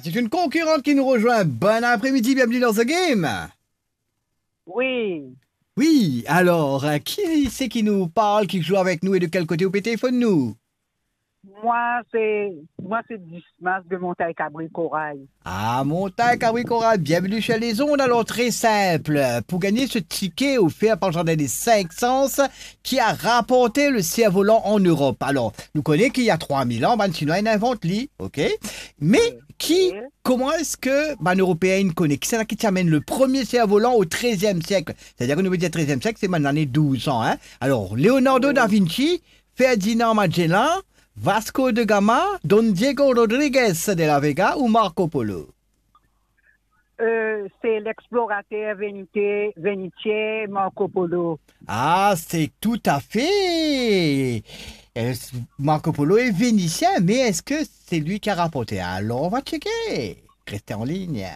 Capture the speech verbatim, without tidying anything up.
C'est une concurrente qui nous rejoint. Bon après-midi, bienvenue dans The Game. Wi. Wi, alor, euh, ki se ki nou parl, ki zwe avek nou e de kel kote ou pe telefonn nou? Mwa se, mwa se Dismas de Montagn Kabri Koray. Ah, Montagn Kabri Koray, bienvenue sur les ondes. Alors, très simple, pour gagner ce ticket offert par Jardin des Cinq Sens, qui a rapporté le cerf-volant en Europe. Alors, nou kone ki ena trwa mil an, bann Sinwa inn invant li, ok? Me ki, kouma eski bann Eropeen inn kone? Kisannla ki ti amenn le premie servolan o treziem siek? Setadir ki nou pe dir treziem siek, se bann lane douz san, hein? Alor, Leonardo da Vinci, Ferdinand Magellan, Vasco da Gama, Don Diego Rodriguez de la Vega ou Marco Polo? Euh, se lexplorater venite-, venitien Marco Polo. Ah, c'est tout à fait. Euh, Marco Polo est vénitien, mais est-ce que c'est lui qui a rapporté? Alors, on va checker. Restez en ligne.